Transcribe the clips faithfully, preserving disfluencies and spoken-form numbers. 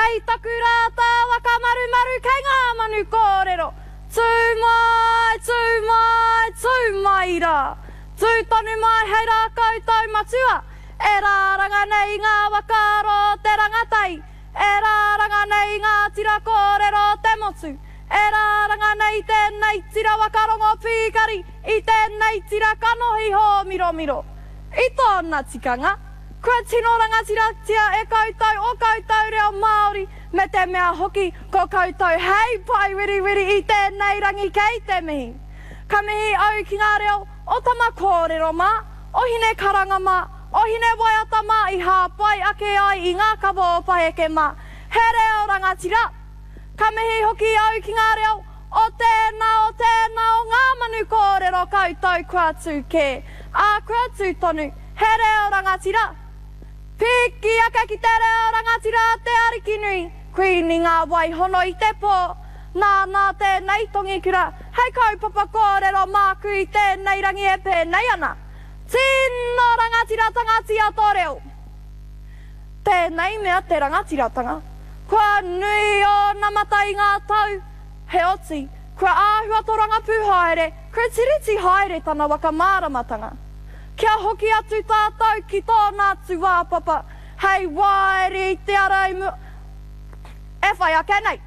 Kei taku rātā waka marumaru kei ngā manu kōrero. Tū mai, tū mai, tū mai rā. Tū tonu mai hei rākau taumatua. E rāranga nei ngā whakaaro o te rangatahi. E rāranga nei ngā tira kōrero o te motu. E rāranga nei tēnei tira waka rongo pīkari i tēnei tira kanohi hōmiromiro. I tōna tikanga, kua tino rangatiratia e koutou o koutou reo Māori me te mea hoki ko koutou hei pae wiriwiri i tēnei rangi kei te mihi. Ka mihi au ki ngā reo o Tama Kōrero mā, o Hine Karanga mā, o Hine Waiata mā i hāpai ake ai i ngā kawa o Paheke mā. He reo rangatira! Ka mihi hoki au ki ngā reo o tēnā, o tēnā o ngā manu kōrero koutou kua tū kē, ā, kua tū tonu. He reo rangatira! Piki ake ki te reo rangatira a te Arikinui, Kuini ngā wai hono i te pō. Nāna tēnei tongikura hei kaupapa kōrero māku i tēnei rangi e pēnei ana. Tino rangatiratanga tō reo! Tēnei mea te rangatiratanga. Kua nui ōna mata i ngā tau, heoti, kua āhua torangapū haere, kua tiriti haere tana waka māramatanga. Kia hoki atu tātou ki tōna tūāpapa, hei waere i te ara i mua e whai ake nei.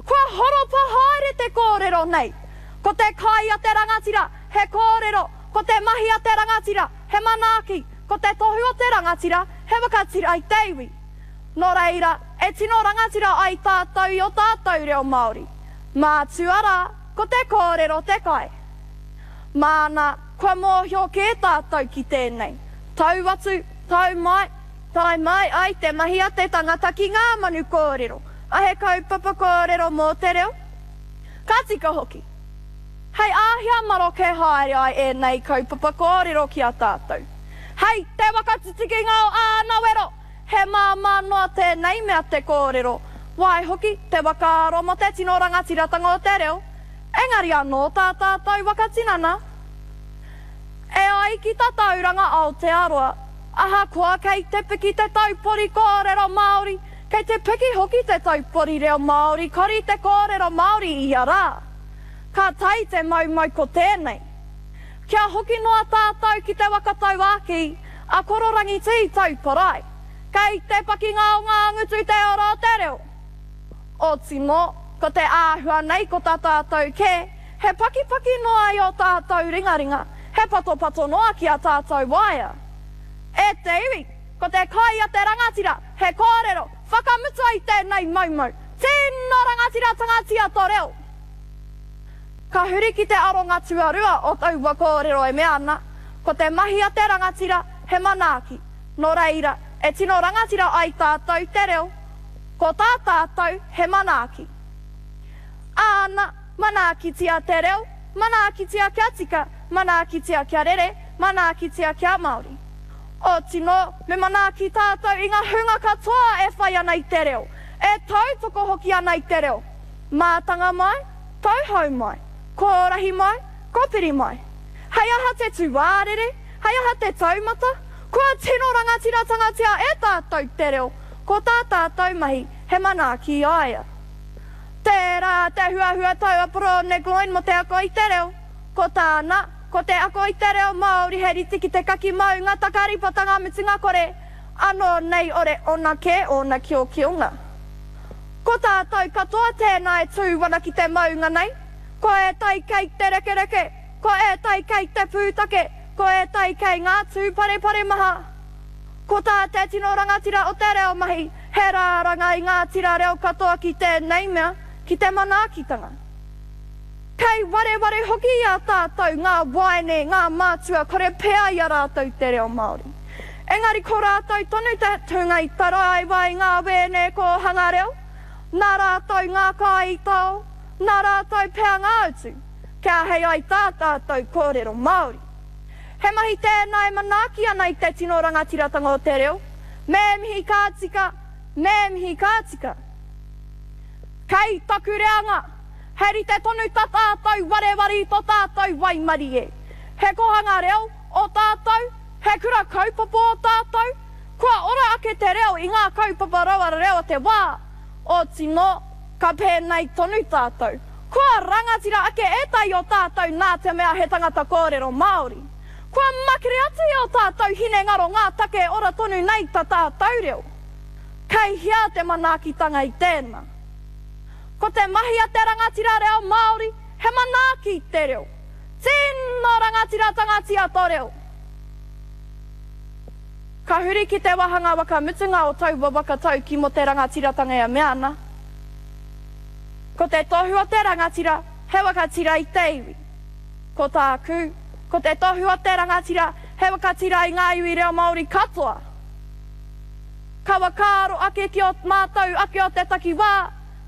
Kua horopa haere te kōrero nei. Ko te kai a te rangatira, he kōrero, ko te mahi a te rangatira, he manaaki, ko te tohu o te rangatira, he whakatira i te iwi. Nō reira, e tino rangatira ai tātou i o tātou reo Māori. Mātua rā, ko te kōrero te kai. Māna, kua mōhio kē tātou ki tēnei. Tau atu, tau mai, tae mai ai te mahi a te tangata ki ngā manu kōrero, a he kaupapa kōrero mō te reo. Ka tika hoki. Hei āhea maroke haere ai ēnei kaupapa kōrero ki a tātou. Hei te waka tutukinga o āna wero, he māmā noa tēnei mea te kōrero. Waihoki, te whakaaro mō te tino rangatiratanga o te reo, engari anō tā tātou waka tinana. E ai ki Tatauranga Aotearoa, ahakoa kei te piki te taupori kōrero Māori, kei te piki hoki te taupori reo Māori, kore te kōrero Māori i ia rā. Ka tae te maumau ko tēnei. Kia hoki noa tātou ki te waka tauākī, a Kororangi Tī Tauparai. Kei te pakinga o ngā ngutu te ora o te reo. Otimo, ko te āhua nei ko tā tātou kē, he pakipaki noa i o tātou ringaringa, he patopato noa ki a tātou waea. E te iwi, ko te kai a te rangatira, he kōrero, whakamutua i tēnei maumau. Tino rangatiratanga tō reo! Ka huri ki te aronga tuarua o taua kōrero e mea ana, ko te mahi a te rangatira, he manaaki. Nō reira, e tino rangatira ai tātou te reo, ko tā tātou he manaaki. Āna, manaakitia te reo, manaakitia kia tika, manaakitia kia rere, manaakitia kia Māori. Otino, me manaaki tātou i ngā hunga katoa e whai ana i te reo, e tautoko hoki ana i te reo. Mātanga mai, tauhou mai, kōrahi mai, kōpiri mai. Hei aha te tūārere, hei aha te taumata, kua tino rangatiratanga e tātou te reo, ko tā tātou mahi he manaaki i a ia. Tērā te huahua tau a Porone Gloyne mō te ako i te reo. Ko tāna, ko te ako i te reo Māori he rite ki te kaki maunga takaripatanga mutunga kore, anō nei ore ona kē ōna kiokionga. Ko tātou katoa tēnā e tū ana ki te maunga nei, ko ētahi kei te rekereke, ko ētahi kei te pūtake, ko ētahi kei ngā tūparepare maha. Ko tā te tino rangatira o te reo mahi, he rāranga i ngā tira reo katoa ki tēnei mea, ki te manaakitanga. Kei wareware hoki i a tātou ngā waene, ngā mātua, kore pea i a rātou te reo Māori. Engari ko rātou tonu te hunga i taraiwa i ngā wēne kōhanga reo, nā rātou ngā kai i tao, nā rātou pea ngā utu, kia hei ai tā tātou kōrero Māori. He mahi tēnā e manaaki ana i te tino rangatiratanga o te reo, me mihi ka tika, me mihi ka tika. Kei taku reanga, he rite tonu tā tātou wareware i tō tātou waimarie. He kohanga reo o tātou, he kura kaupapa o tātou, Kua ora ake te reo i ngā kaupapa rauara reo o te wā, otinō, ka pēnei tonu tātou. Kua rangatira ake ētahi o tātou nā te mea he tangata kōrero Māori. Kua makere atu i ō tātou hinengaro ngā take e ora tonu nei ta tātou reo. Kei hea te manaakitanga i tēnā? Ko te mahi a te rangatira reo Māori, he manaaki i te reo. Tino rangatiratanga tō reo! Ka huri ki te wāhanga whakamutunga o taua waka tauki mō te rangatiratanga e mea ana, Ko te tohu o te rangatira, he whakatira i te iwi. Ko tāku, ko te tohu o te rangatira, he whakatira i ngā iwi reo Māori katoa. Ka whakaaro ake ki ō mātou ake o te takiwā,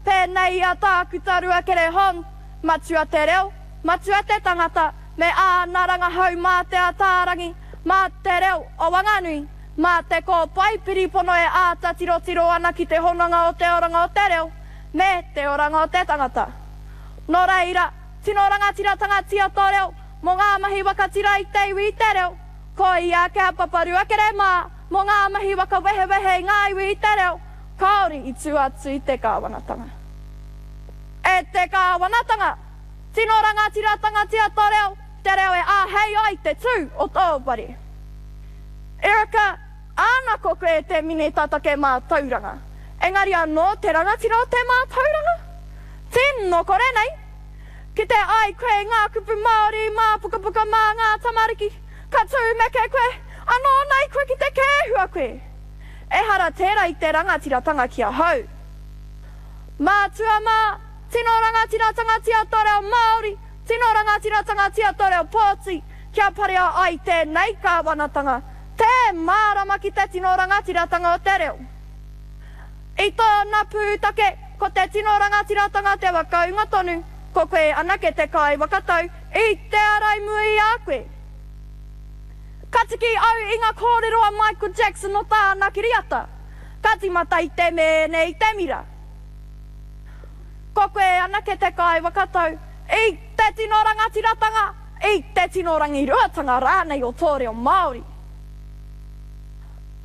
pēnei i a Tākuta Ruakere Hong, Matua te reo, matua te tangata, me āna rangahau mā Te Ataarangi, mā te reo o Wanganui, mā te kōpae piripono e āta tirotiro ana ki te hononga o te oranga o te reo me te oranga o te tangata. Nō reira, tino rangatiratanga tō reo mō ngā mahi whakatira i te iwi i te reo, ko ia ake a Papa Ruakere mā mō ngā mahi whakawehewehe i ngā iwi i te reo, kāore i tū atu i te kāwanatanga. E te kāwanatanga! Tino rangatiratanga tō reo, te reo e āhei ai te tū o tō whare. Erica, āna ko koe te minita take mātauranga. Engari anō te rangatira o te mātauranga? Tino kore nei. Ki te ai koe i ngā kupu Māori mā pukapuka mā ngā tamariki, ka tūmeke koe, anō nei koe ki te kēhua koe. Ehara tērā i te rangatiratanga ki ahau. Mātua mā, tino rangatiratanga tō reo Māori, tino rangatiratanga tō reo pōti, kia parea ai tēnei kāwanatanga, tē mārama ki te tino rangatiratanga o te reo. I tōna pūtake, ko te tino rangatiratanga te whakaūnga tonu, ko koe anake te kaiwhakatau i te ara i mua i a koe. Ka tiki au i ngā kōrero a Michael Jackson o tāna kiriata, ka tīmata i te mēne i te mira. Ko koe anake te kaiwhakatau i te tino rangatiratanga, i te tino rangiruatanga rānei o tō reo Māori.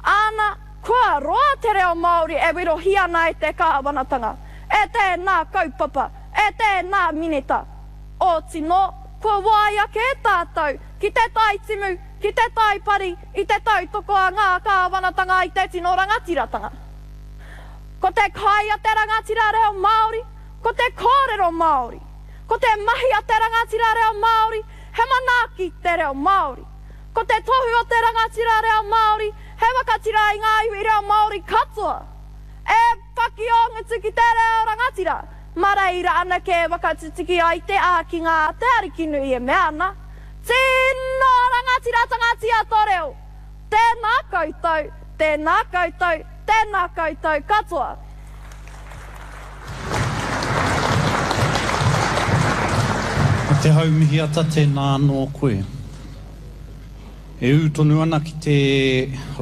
Āna, kua roa te reo Māori e werohia ana e te kāwanatanga, e tēnā kaupapa, e tēnā minita. Otinō, kua waia kē tātou ki te taitimu, ki te taipari, i te tautoko a ngā kāwanatanga i te tino rangatiratanga. Ko te kai a te rangatira reo Māori, ko te kōrero Māori. Ko te mahi a te rangatira reo Māori, he manaaki te reo Māori. Ko te tohu o te rangatira reo Māori, he whakatira i ngā iwi reo Māori katoa. E paki ō ngutu ki te reo rangatira, mā reira anake e whakatutuki ai te ākinga a Te Arikinui e mea ana, Tino rangatiratanga tō reo! Tēnā koutou, tēnā koutou, tēnā koutou katoa. Ko Te Haumihiata tēnā anō koe. E ū tonu ana ki te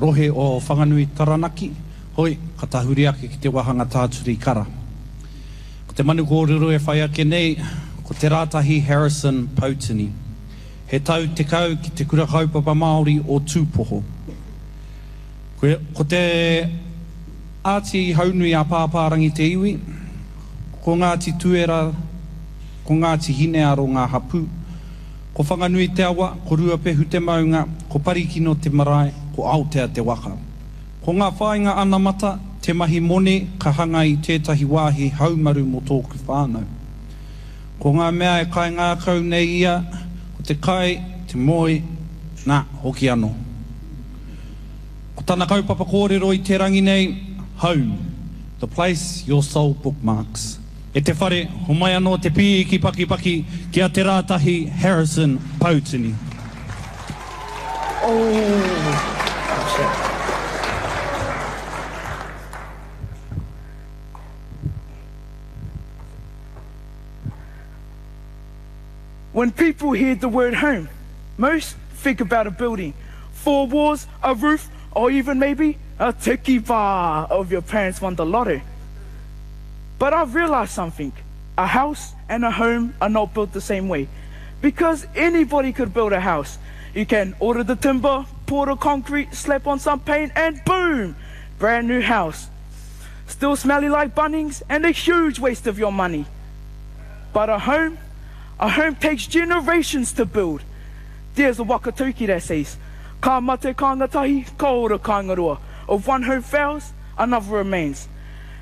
rohe o Whanganui Taranaki, hoi, ka tahuri ake ki te wāhanga tāturi kara. Ko te manu kōrero e whai ake nei, ko Te Rātahi Harrison Poutini. He tau tekau ki te Kura Kaupapa Māori o Tūpoho. Ko te Āti Haunui a Pāpārangi te iwi, ko Ngāti Tuera, ko Ngāti Hinearo ngā hapū, ko Whanganui te awa, ko Ruapehu te maunga, ko Parikino te marae, ko Aotea te waka. Ko ngā whāinga anamata, te mahi moni ka hanga i tētahi wāhi haumaru mō tōku whānau. Ko ngā mea e kaingākau nei ia, ko te kai, te moe, nā, hoki anō. Ko tana kaupapa kōrero i te rangi nei, Home, the place your soul bookmarks. E te whare, homai anō te pīki pakipaki ki a Te Rātahi Harrison Poutini. Oh, shit. When people hear the word home, most think about a building, four walls, a roof, or even maybe a tiki bar if your parents won the lotto. But I've realized something. A house and a home are not built the same way. Because anybody could build a house. You can order the timber, Pour the concrete, slap on some paint, and boom! Brand new house. Still smelly like Bunnings and a huge waste of your money. But a home, a home takes generations to build. There's a whakataukī that says, Ka mate kāinga tahi, ka ora kāinga roa. If one home fails, another remains.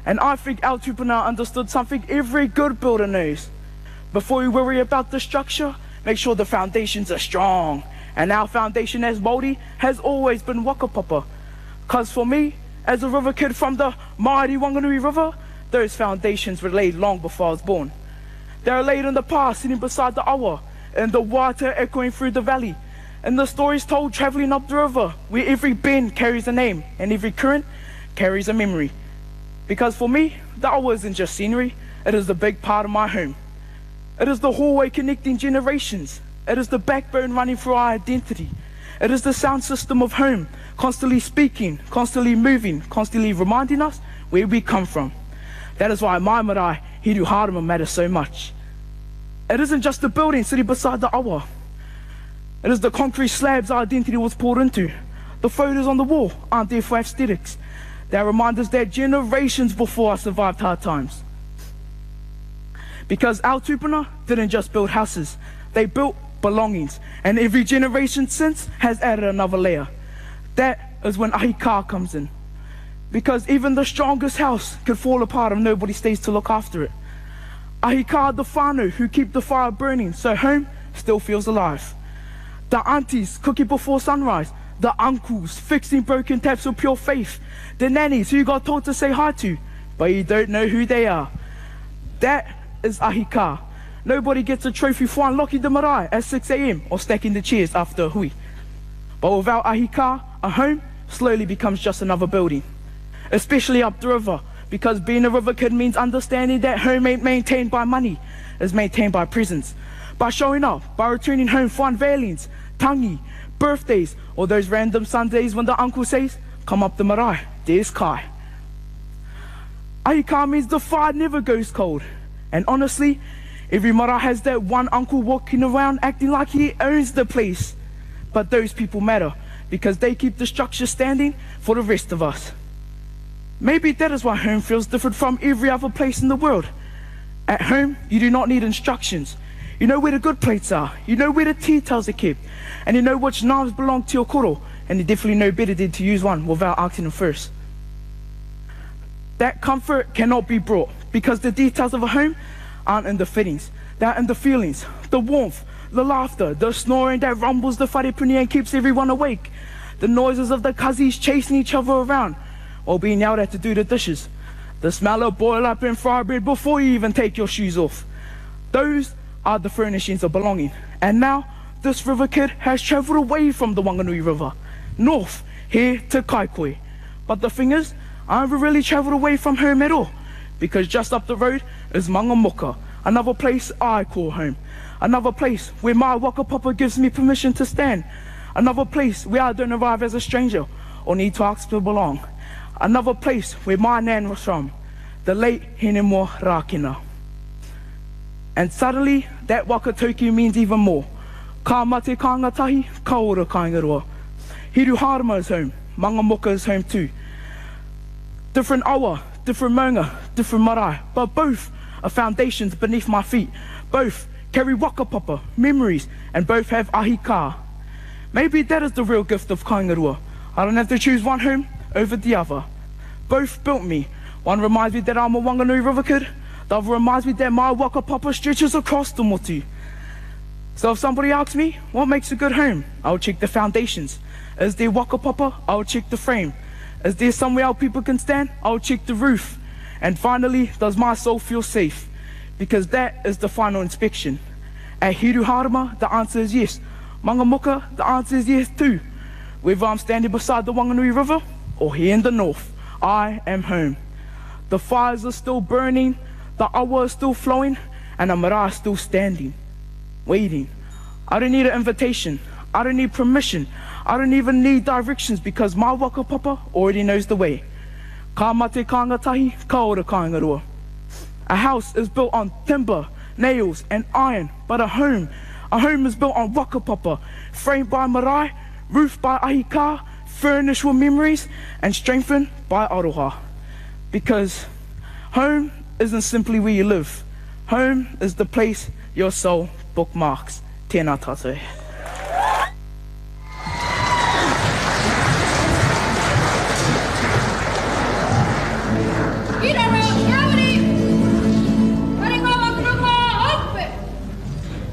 And I think our tupuna understood something every good builder knows. Before you worry about the structure, make sure the foundations are strong. And our foundation as Māori has always been whakapapa. Cause for me, as a river kid from the mighty Whanganui River, those foundations were laid long before I was born. They are laid in the past, sitting beside the awa, and the water echoing through the valley, and the stories told travelling up the river, where every bend carries a name and every current carries a memory. Because for me, the awa isn't just scenery, it is a big part of my home. It is the hallway connecting generations. It is the backbone running through our identity. It is the sound system of home, constantly speaking, constantly moving, constantly reminding us where we come from. That is why my marae, Hiruharama, matters so much. It isn't just the building sitting beside the awa. It is the concrete slabs our identity was poured into. The photos on the wall aren't there for aesthetics. They remind us that generations before us survived hard times. Because our tupuna didn't just build houses, they built belongings. And every generation since has added another layer. That is when ahi kā comes in. Because even the strongest house could fall apart if nobody stays to look after it. Ahi kā the whānau who keep the fire burning so home still feels alive. The aunties cooking before sunrise. The uncles fixing broken taps with pure faith. The nannies who you got told to say hi to, but you don't know who they are. That is ahi kā. Nobody gets a trophy for unlocking the marae at six A M or stacking the chairs after a hui. But without ahi kā, a home slowly becomes just another building. Especially up the river, because being a river kid means understanding that home ain't maintained by money, it's maintained by presence. By showing up, by returning home for unveilings, tangi, birthdays, or those random Sundays when the uncle says, come up the marae, there's kai. Ahi kā means the fire never goes cold. And honestly, every marae has that one uncle walking around acting like he owns the place. But those people matter, because they keep the structure standing for the rest of us. Maybe that is why home feels different from every other place in the world. At home, you do not need instructions. You know where the good plates are, you know where the tea towels are kept, and you know which knives belong to your koro, and you definitely know better than to use one without asking them first. That comfort cannot be brought, because the details of a home aren't in the fittings, they're in the feelings, the warmth, the laughter, the snoring that rumbles the wharepuni and keeps everyone awake, the noises of the cousins chasing each other around while being yelled at to do the dishes, the smell of boil up and fry bread before you even take your shoes off. Those are the furnishings of belonging. And now, this river kid has travelled away from the Whanganui River, north, here to Kaikohe. But the thing is, I haven't really travelled away from home at all, because just up the road is Mangamuka, another place I call home, another place where my whakapapa gives me permission to stand, another place where I don't arrive as a stranger or need to ask to belong, another place where my nan was from, the late Hinemoa Rakina. And suddenly, that whakataukī means even more. Ka mate kāinga tahi, ka ora kāinga roa. Hiruharama is home, Mangamuka is home too. Different awa, different maunga, different marae, but both are foundations beneath my feet. Both carry whakapapa, memories, and both have ahi kā. Maybe that is the real gift of kāinga roa. I don't have to choose one home over the other. Both built me. One reminds me that I'm a Whanganui River kid. The other reminds me that my whakapapa stretches across the motu. So if somebody asks me, what makes a good home? I'll check the foundations. Is there whakapapa? I'll check the frame. Is there somewhere our people can stand? I'll check the roof. And finally, does my soul feel safe? Because that is the final inspection. At Hiruharama, the answer is yes. Mangamuka, the answer is yes too. Whether I'm standing beside the Whanganui River or here in the north, I am home. The fires are still burning, the awa is still flowing, and the marae is still standing, waiting. I don't need an invitation. I don't need permission. I don't even need directions, because my whakapapa already knows the way. Ka mate kāinga tahi, ka ora kāinga roa. A house is built on timber, nails, and iron, but a home, a home is built on whakapapa, framed by marae, Roofed by ahi kā, furnished with memories, and strengthened by aroha. Because home isn't simply where you live. Home is the place your soul bookmarks. Tēnā tātou.